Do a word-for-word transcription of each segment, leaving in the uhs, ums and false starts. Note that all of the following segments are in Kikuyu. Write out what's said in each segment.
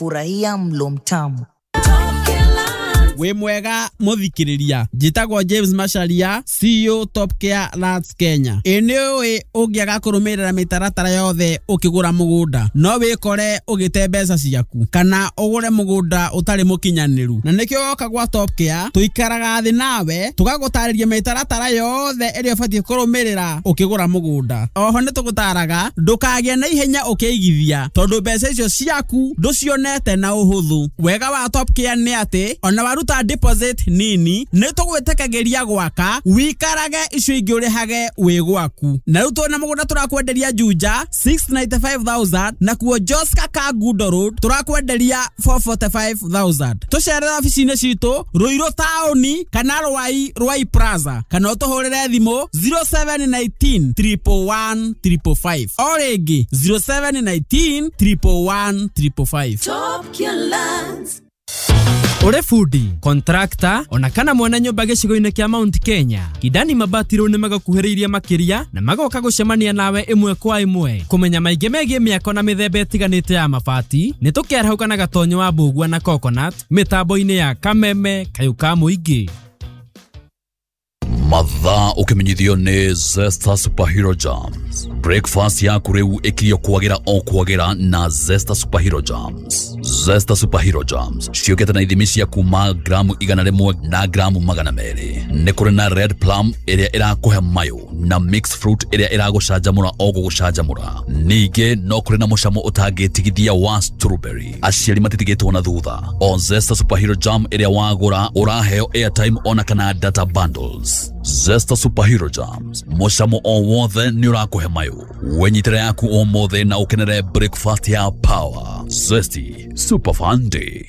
Furahia mlo mtamu. Wĩ mwega mũthikĩrĩria, njĩtagwo James Macharia, C E O Top Care Lands Kenya. Ĩ nĩ ũĩ ũngĩaga kũrũmĩrĩra mĩtaratara yothe ũkĩgũra mũgũnda no wĩkore ũgĩte mbeca ciaku kana ũgũre mũgũnda ũtarĩ mũkinyanĩru, na nĩkĩo woka gwa Top Care tũikaraga thĩ nawe tũgagũtarĩria mĩtaratara yothe ĩrĩa ũbatiĩ kũrũmĩrĩra ũkĩgũra mũgũnda. Oho nĩ tũgũtaraga ndũkagĩe na ihenya ũkĩigithia tondũ mbeca icio ciaku ndũcionete na ũhũthũ. Wega wa Top Care nĩ atĩ ona waruta deposit nini nĩ tũgwĩtĩkagĩria gwaka wikarage icio ingĩ ũrĩhage wĩ gwaku. Na rĩu twĩna mũgũnda tũrakwenderia Juja six hundred ninety-five thousand, nakuo Joska Kangundo Road tũrakwenderia four hundred forty-five thousand. Tũcerere obici-inĩ citũ Ruiru taũni kana Rwai, Rwai Plaza, kana ũtũhũrĩre thimũ zero seven one nine triple one triple five. O rĩngĩ, zero seven one nine triple one triple five. Top Care Lands. Ũrĩ bundi, contractor ona kana mwana nyũmba gĩcigo-inĩ kĩa Mount Kenya, Kidani Mabati rĩu nĩmagũkuhĩrĩirie makĩria na magoka gũcemania nawe ĩmwe kwa ĩmwe kũmenya maingĩ megiĩ mĩako na mĩthemba ĩtiganĩte ya mabati. Nĩ tũkĩarahũka na Gatonyo wa Mbũgua na Coconut mĩtambo-inĩ ya Kameme Kayũ ka Mũingĩ. Mathaa ũkĩmenyithio nĩ Zesta Superhero Jams. Breakfast yaku rĩu ĩkirio kwagĩra o kwagĩra na Zesta Superhero Jams. Zesta Superhero Jams ciũkĩte na ithimi cia kuma gramu igana rĩmwe na gramu magana merĩ. Nĩ kũrĩ na red plum ĩrĩa ĩrakũhe mayũ na mixed fruit ĩrĩa ĩragũcanjamũra o gũgũcanjamũra. Ningĩ no kũrĩ na mũcamo ũtangĩtigithia wa strawberry. Aciari matitigĩtwo na thutha. O Zesta Superhero Jam ĩrĩa wagũra ũraheo airtime ona kana data bundles. Zesta Superhero Jams, mũcamo o wothe nĩ ũrakũhe mayũ. Wenyitĩre yaku ũmũthĩ na ũkenere breakfast ya power. Zesty Super Fun Day.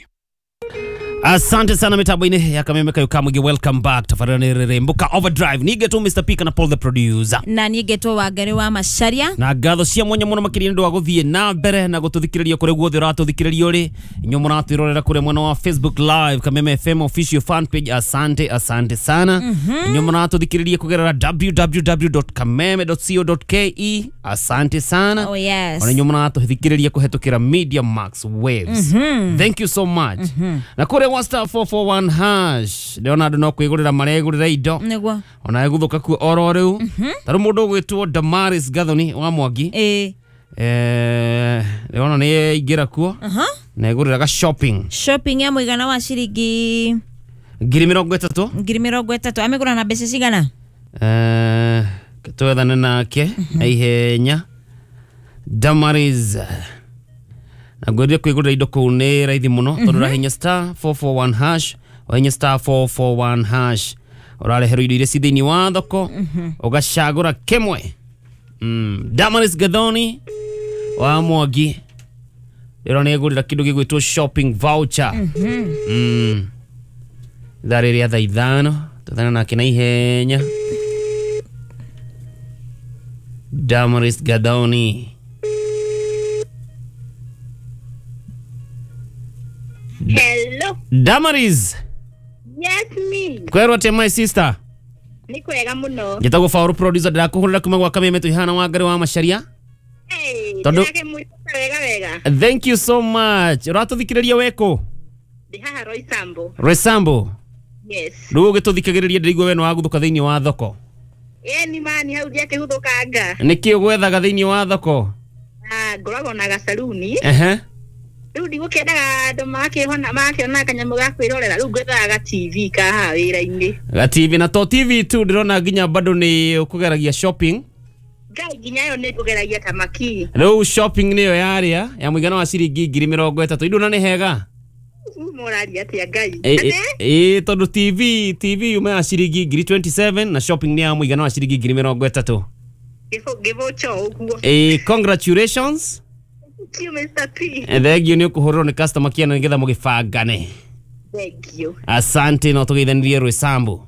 Asante sana mitambo-inĩ ya Kameme Kayo Kamwingi. Welcome back. Tabarĩra nĩ rĩrĩmbũka Overdrive. Nigetwo Mister P kana Paul the producer. Na niĩ ngetwo Wangari wa Macharia. Na ngatho cia mwanya mũno makĩria nĩ ũndũ wa gũthiĩ na mbere na gũtũthikĩrĩria kũrĩa guothe ũratũthikĩrĩria ũrĩ. Inyuĩ mũratwĩrorera kũrĩa mwena wa Facebook Live, Kameme F M official fan page, asante, asante sana. Inyuĩ mũratũthikĩrĩria kũgerera w w w dot kameme dot co dot k e, asante sana. Oh yes. Ona inyuĩ mũratũthikĩrĩria kũhetũkĩra Media Max Waves, thank you so much. Na kũrĩa wa star four four one hash ndĩrona andũ no kwĩgũrĩra maregũrĩra indo. Nĩguo. Ona egũthũka kuo oro rĩu. Ta rĩu mũndũ ũgwĩtwo Damaris Gathoni wa Mwangi, ĩĩ eh ndĩrona nĩ aingĩra kuo aha na egũrĩra ga shopping. Shopping ya mũigana wa ciringi ngiri mĩrongo ĩtatũ. Ngiri mĩrongo ĩtatũ. Amĩgũra na mbeca cigana? Eh, twethane nake na ihenya. Damaris, na ngwĩrire kwĩgũrĩra indo kũu nĩ raithi mũno tondũ ũrahinya star four four one hash, wahinya star four four one hash ũrareherwo indo iria ci thĩinĩ wa thoko, ũgacagũra kĩmwe. mm. Damaris Gathoni wa Mwangi ndĩrona nĩ egũrĩra kĩndũ gĩgwĩtwo shopping voucher. mm. Ithaa rĩrĩa thaa ithano twethane nake na ihenya. Damaris Gathoni. Hello. Damaris. Yes, me. Kwerwo atia, my sister? Nĩ kwega mũno. Njĩtagwo Faũrũ producer, ndĩrakũhũrĩra kuma gwa Kameme twĩhana Wangari wa Macharia. Hey, Tondũ- ndĩrakĩmwĩta wega wega. Thank you so much. Ũratũthikĩrĩria wekũ? Ndĩ haha Roysambu. Roysambu? Yes. Rĩu ũgĩtũthikagĩrĩria ndĩraigua we nĩ wagũthũka thĩinĩ wa thoko. Ĩni mani hau ndiakĩhuthũkanga. Nĩkĩ ũgwethaga thĩinĩ wa thoko? Ah, ngoragwo na gacaruni. Ehe Rĩu ndigũkĩendaga andũ makĩhona makĩona kanyamũ ga kwĩrorera, rĩu ngwethaga ga T V ka haha wĩra-inĩ. Ga T V, na to T V tu, ndĩrona nginya bado nĩ ũkũgeragia shopping. Ngai, nginya ĩyo nĩ ngũgeragia ta maki. Rĩu shopping nĩyo yarĩa ya mũigana wa ciringi ngiri mĩrongo ĩtatũ, induna nĩ hega. Mũraria atĩa Ngai? Ĩ- ĩ ĩ, tondũ T V T V yuma ya ciringi ngiri mĩrongo ĩrĩ na igĩrĩ na shopping nĩ ya mũigana wa ciringi ngiri mĩrongo ĩtatũ. Ngĩbũcho ũguo. Ĩ, congratulations. Thank you, Mister P. Thengio, nĩ ũkũhũrĩrwo nĩ customer care nĩgetha mũgĩbangane. Thank you. Asante, no tũgeithanirie Rwĩsambu.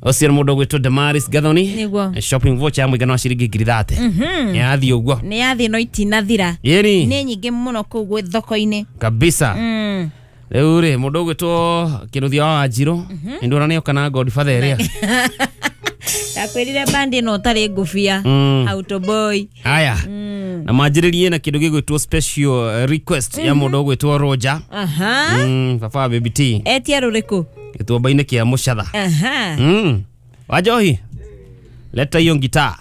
Ũcio nĩ mũndũ ũgwĩtwo Damaris Gathoni. Nĩguo. Shopping voucher ya mũigana wa ciringi ngiri thate yathiĩ ũguo. Nĩ yathiĩ no itinathira. Yĩni. Nĩ nyingĩ mũno kũu gwĩ thoko-inĩ. Kabisa. Mm. Rĩu rĩ, mũndũ ũgwĩtwo Kĩnuthia wa Wanjirũ nĩ ndona nĩoka na Godfather ĩrĩa Ndakwĩra. Ndakwĩrire bandi ĩno ũtarĩ ngũbia. Mm. Autoboy. Haya, na manjĩrĩrie na kĩndũ gĩgwĩtwo special eh, request ya mũndũ ũgwĩtwo Roger. Aha. Mm, baba wa Baby T. Etia rũrĩkũ? Gĩtuamba-inĩ kĩa Mũcatha. Aha. Mm. Wanjohi, leta hiyo ngitaa.